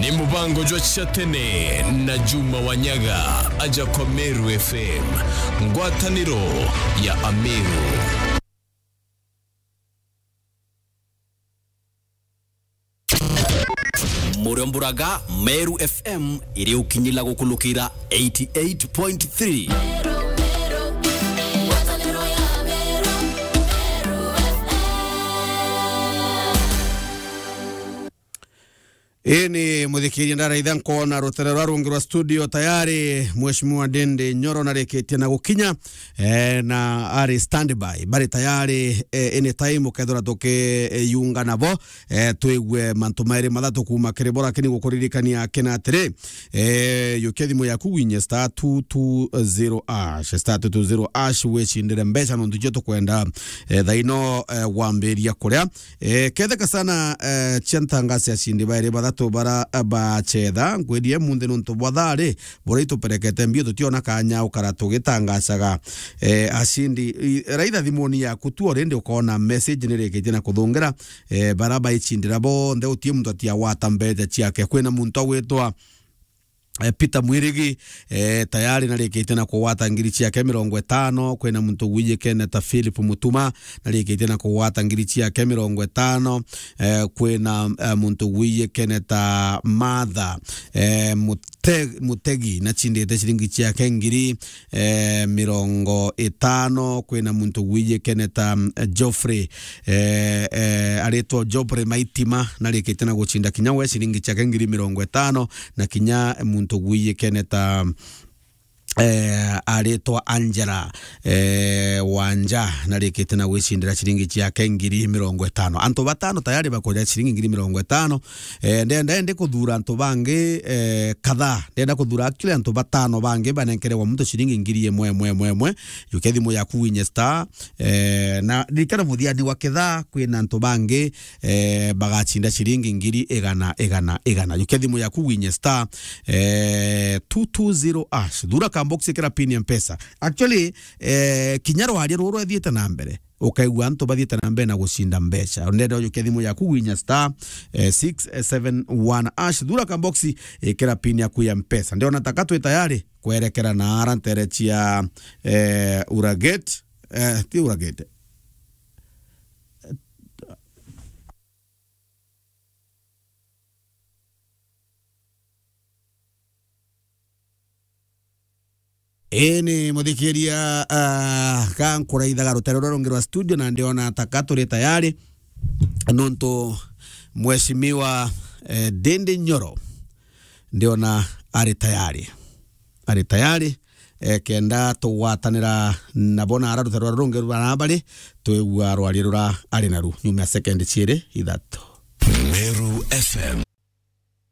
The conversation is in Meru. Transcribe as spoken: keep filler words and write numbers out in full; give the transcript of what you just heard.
Ni mubango jwa cia tene na Juma Wanyaga, aja kwa Meru F M, ngwataniro ya Ameru. Muriomburaga Meru F M iri ukinyila gukulukira eighty eight point three. Ini muthikiria ndaraitha nkona rutere rwa rungi rwa studio tayari, Mheshimiwa Ndindi Nyoro narikitie na gukinya, eh, na ari standby, bari tayari, eh, anytime ukethira tukiyunga nabo, eh, twigue mantu mairi mathatu kuuma kiri bo, lakini gukuririkania kina atiri, eh, yukia thimu yaku winye star two two zero hash, star two two zero hash, wicindire mbeca nontu cio tukwenda, eh, thaino, eh, wambiria kuria. Eh, ketheka sana, eh, cia ntangasi acindi bairi bathatu bara, eh, bacetha, ngwendie munthi nontu bwa thari, buria ituperekete mbio tutiona kanya ukara tugitangacaga, eh, acindi. I, raitha thimuni yaku tu already ukona message nirikitie na kuthungira, eh, bara baicindira bonthe utie muntu atiawata mbeca ciake. Kwina muntu agwitwa eh, Peter Mwirigi, eh, tayari narikitie na kugwata ngiri ciake mirongo itano. Kwina muntu wijikene ta Philip Mutuma, narikitie na kugwata ngiri ciake mirongo itano. Eh, kwina, eh, muntu wijikene ta Martha, eh, Mute-, Mutegi, nacindite ciringi ciake ngiri, eh, mirongo itano. Kwina muntu wijikene ta, mm, Geoffrey, eh, eh, aritwa Geoffrey Maitima, narikitie na gucinda kinya we ciringi ciake ngiri mirongo itano. Na kinya muntu gwijikene ta, eh, aritwa Angela, eh, Wanja, narikite na gwicindira ciringi ciake ngiri mirongo itano. Antu batano tayari bakuria ciringi ngiri mirongo itano. Eh, ndenda ndi kuthura antu bangi, eh, kadhaa. Ndenda kuthura actually antu batano bangi banenkerewa muntu ciringi ngiri imwe, imwe, imwe, imwe. Yukia thimu yaku winye star, eh, na ririkana muthiani wa kithaa kwina antu bangi, eh, bagacinda ciringi ngiri igana, igana, igana. Yukia thimu yaku winye star, eh, two two zero hash. Thura ka box, ikira pin ya Mpesa. Actually, eh, kinya rwaria ruru rwethiite na mbere, ukaigua antu bathiite na mbere na gucinda mbeca. Ndenda ujukia thimu yaku winye star, eh, six seven one hash. Thura ka box, ikira pin yaku ya Mpesa. Ndiona taka twi tayari kwerekera na ara ntere cia, eh, Uragate, eh, ti Uragate. Ini muthikiria, ah, ka nkuraithaga rutere ruria rungi rwa studio, na ndiona taka turi tayari, nontu Mheshimiwa, eh, Ndindi Nyoro ndiona ari tayari. Ari tayari, eh, kenda tugwatanira nabo na ara rutere ruria rungi rura bari, twigua rwaria rura ari naru. Nyuma ya sekendi ciiri ithatu. Meru F M.